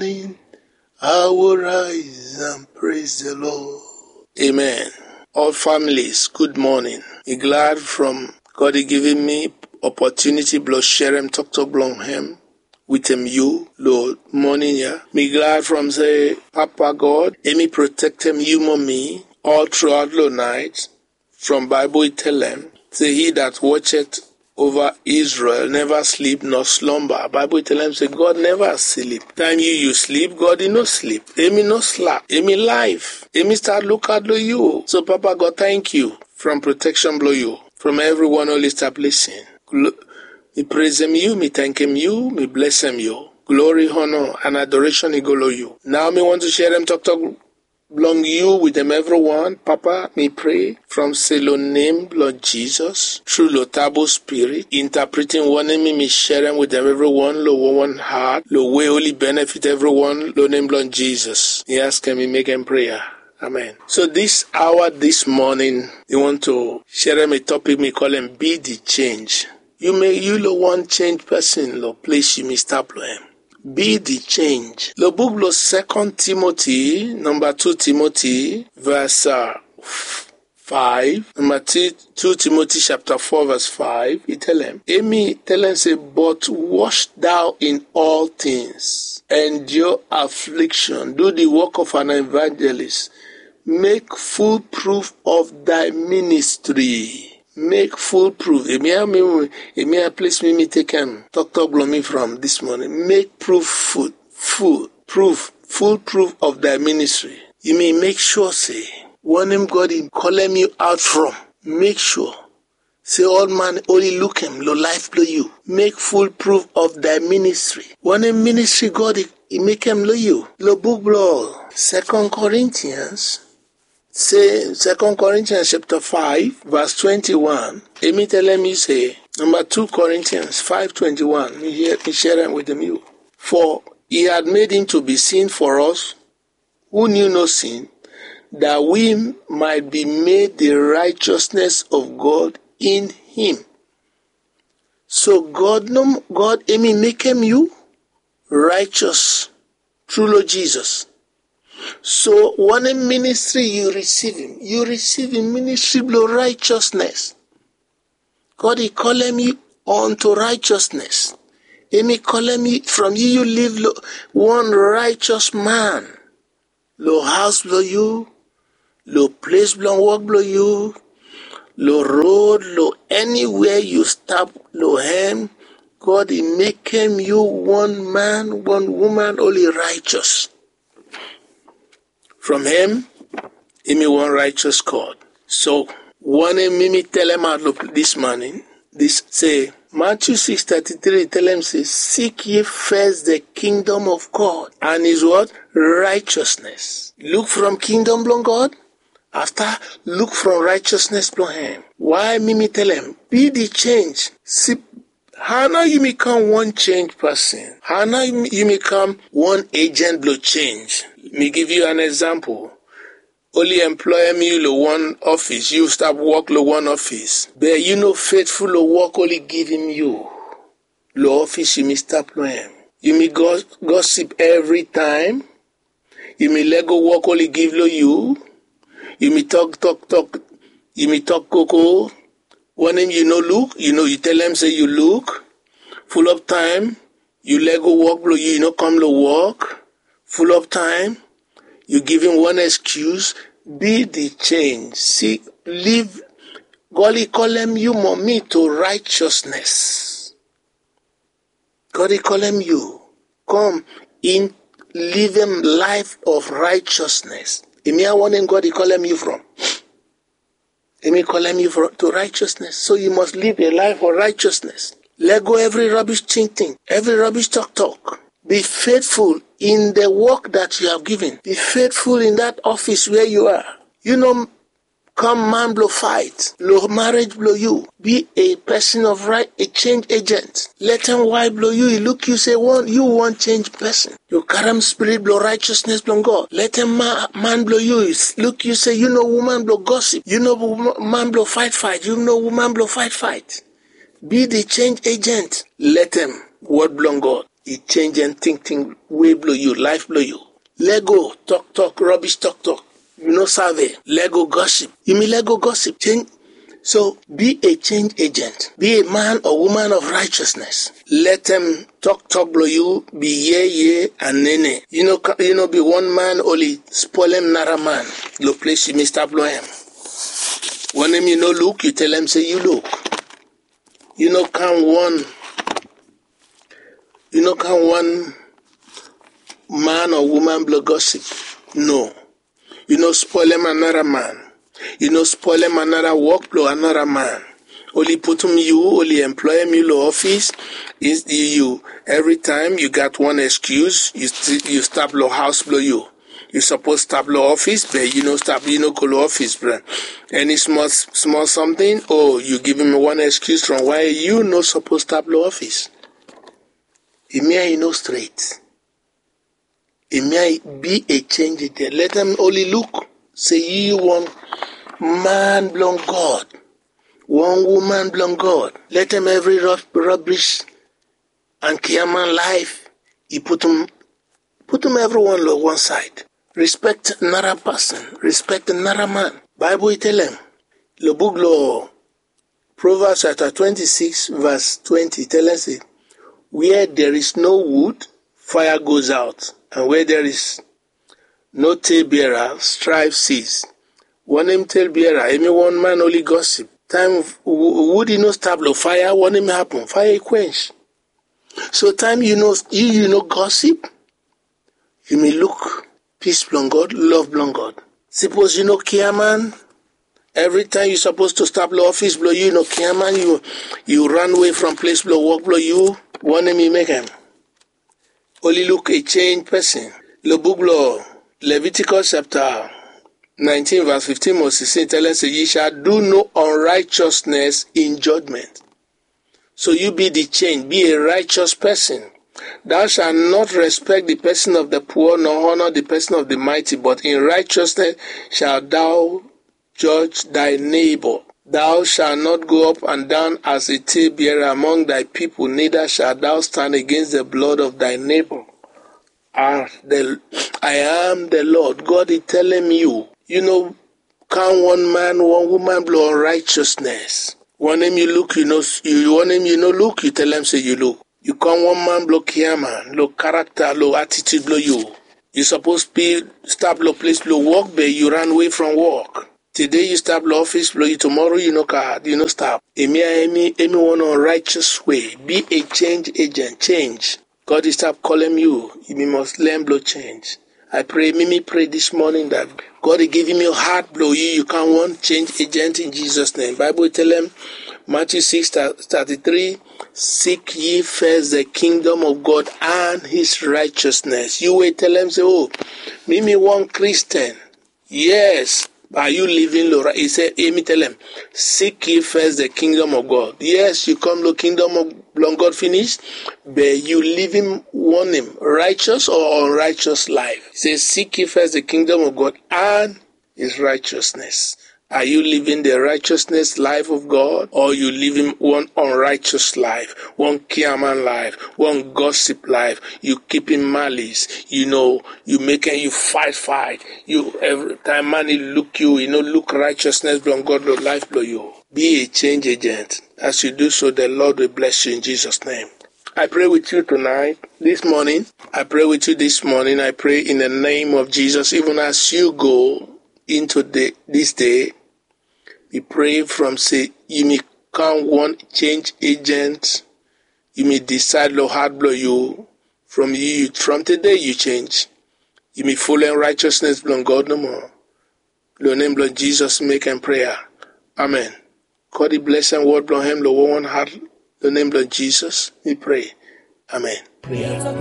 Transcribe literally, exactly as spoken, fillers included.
I will rise and praise the Lord. Amen. All families, good morning. Mi glad from God i givim mi opportunity blong serem toktok blong hem wetem yu lo morning ya. Mi glad from se Papa God hemi protektem yu mo mi all throughout lo night. From Bible i telem se, he that watcheth over Israel never sleep nor slumber. Bible i telem se God never sleep. Time yu yu sleep, God i no sleep. Hemi no slap. Hemi life. Hemi start look out lo yu. So Papa God, thank you from protection blong yu from everyone oli stap listen. Glo- mi praisem yu, mi thankem yu, mi blessem yu. Glory, honor and adoration i go lo yu. Now mi want to serem toktok blong yu wetem everyone. Papa, mi pray from se lo nem blong Jesus, tru lo tabu spirit, interpreting wanem mi mi serem wetem everyone lo one one heart, lo way oli benefit everyone lo nem blong Jesus. Mi askem, mi mekem prayer. Amen. So this hour, this morning, mi want to serem a topic mi kolem Be the Change. Yu mi yu lo wan change person lo ples yu mi stap lo hem. Be the change. Lo book lo Second Timothy, number two Timothy, verse uh, five, number two, two Timothy chapter four verse five, i telem, hemi telem se, but watch thou in all things, endure affliction, do the work of an evangelist, make full proof of thy ministry. Make full proof. Hemi a mi, hemi a ples mi mi tekem toktok blong mi from this morning. Make proof full, full proof, full proof of thy ministry. Yu mi make sure se wanem God i kolem yu out from, make sure se ol man oli lukem lo life blong yu. Make full proof of thy ministry. Wanem ministry God i, i mekem lo yu. Lo book blo Second Corinthians, se Second Corinthians chapter five verse twenty-one, hemi telem yu se, number two Corinthians five twenty-one, mi hear, mi share am wetem yu. For he had made him to be sin for us who knew no sin, that we might be made the righteousness of God in him. So God no, God hemi mekem yu righteous tru lo Jesus. So wanem ministry yu risivim? Yu risivim ministry blo righteousness. God i kolem yu unto righteousness. Hemi kolem yu from yu yu live lo wan righteous man. Lo haos blo yu, lo ples blong wok blo yu, lo road, lo eniwea yu stap lo hem, God i mekem yu wan man, wan woman oli righteous. From hem, hemi wan righteous God. So wanem mi mi telemaot lo this morning, this se, Matthew six thirty-three telem se, seek ye first the kingdom of God and his what? Righteousness. Look from kingdom blong God. Afta, look from righteousness blong hem. Why mi mi telem? Be the change. Si, Hao nao yu mi kam wan change pesin? Hao nao yu mi kam wan agent blo change? Mi give yu an example. Oli employem yu lo wan office, yu stap wok lo wan office. Be yu no faithful lo wok oli givim yu. Lo office yu mi stap lo hem. Yu mi gos-, gossip evri taem. Yu mi lego wok oli give lo yu. Yu mi tok, tok, tok. Yu mi tok koko. Wanem yu no luk, yu no, yu telem se yu luk. Fulop taem yu lego wok blo yu, yu no kam lo wok. Fulop taem yu givim wan excuse. Be the change. Si, live. God i kolem yu mo mi to righteousness. God i kolem yu. Come in, livem life of righteousness. Hemia wanem God i kolem yu from. Hemi kolem yu from, to righteousness. So yu must live a life of righteousness. Lego evri rubbish tingting, evri rubbish toktok. Be faithful in the work that you have given. Be faithful in that office where you are. Yu no kam man blo fight lo marriage blo yu. Be a pesin of right, a change agent. Letem waef blo yu i luk yu se wan, yu wan change pesin. Yu karem spirit blo righteousness blo God. Letem ma-, man blo yu i luk yu se yu no woman blo gossip. Yu no wo-, man blo fight fight. Yu no woman blo fight fight. Be the change agent. Letem word blo God I change en tingting way blong yu, life blong yu. Lego toktok, rubbish toktok. Yu no save. Lego gossip. Yumi lego gossip. Change. So be a change agent. Be a man or woman of righteousness. Let em toktok blong yu be yeye and nene. Yu no ka- yu no be one man oli spoil em nara man. Lo place yumi stap lo em. Wanem yu no look, yu tell em say yu look. Yu no kam one yu no kam one man or woman blong gossip. No. Yu no spoil em anara man. Yu no spoil em anara work blong anara man. Oli putum yu, oli employ em yu lo office. Is yu every time yu gat one excuse, yu sti- yu stap lo house blong yu. Yu suppose stap lo office, but yu no stap, yu no go lo office, bro. Any small small something, oh, yu give him one excuse from why yu no suppose stap lo office. Imi eye no straight. Imi eye be a change there. Let them only look. Say yu one man blong God, one woman blong God. Let them every rub- rubbish and kiaman life. Yu putum putum everyone lo one side. Respect another person. Respect another man. Bible e tell em. Lo book lo Proverbs chapter twenty-six verse twenty tell us say, where there is no wood, fire goes out, and where there is no talebearer, strife cease. Wanem talebearer? Emi one man only gossip. Time wood e no stop lo fire, wanem happen? Fire e quench. So time yu no yu yu no gossip, yu may look peace blong God, love blong God. Suppose yu no care man. Every time yu suppose to stop lo office blong yu, no care man. Yu yu run away from place blong work blong yu. Wanem yu make am? Only look a change person. Lo book blong Leviticus chapter nineteen verse fifteen mo sixteen tell us say, ye shall do no unrighteousness in judgment. So you be the change, be a righteous person. Thou shalt not respect the person of the poor, nor honor the person of the mighty, but in righteousness shalt thou judge thy neighbor. Thou shalt not go up and down as a talebearer among thy people, neither shalt thou stand against the blood of thy neighbor. As the I am the Lord God is telling you, you know, count one man, one woman blow righteousness. One name you look, you know, you one name you know look, you tell them say you look. You come one man blow kiaman, low character, low attitude blow you. You suppose be stop low place blow work, but you run away from work. Today you stop low office blow you, tomorrow you no card, you no stop. Emi emi emi one unrighteous way. Be a change agent, change. God is stop calling you. You must learn blow change. I pray, Mimi pray this morning that God is giving you heart blow you. You can't want change agent in Jesus' name. Bible tell him, Matthew six thirty-three, seek ye first the kingdom of God and his righteousness. You will tell him, say, oh, Mimi one Christian. Yes, are you living lo right? He said, Emi tell him, seek ye first the kingdom of God. Yes, you come lo kingdom of long God finish, but you living one name, righteous or unrighteous life. He says, seek ye first the kingdom of God and his righteousness. Are you living the righteousness life of God, or you living one unrighteous life, one kiaman life, one gossip life? You keeping malice, you know, you making you fight fight. You every time man he look you, you know, look righteousness from God lo life lo you. Be a change agent. As you do so, the Lord will bless you in Jesus' name. I pray with you tonight, this morning. I pray with you this morning. I pray in the name of Jesus, even as you go into the, this day, we pray from say you may come one change agent. You may decide lo heart blow you from you from today you change. You may follow in righteousness from God no more. Lo name lo Jesus make and prayer. Amen. God he bless and word lo him lo one heart. Lo name lo Jesus we pray. Amen. Prayer.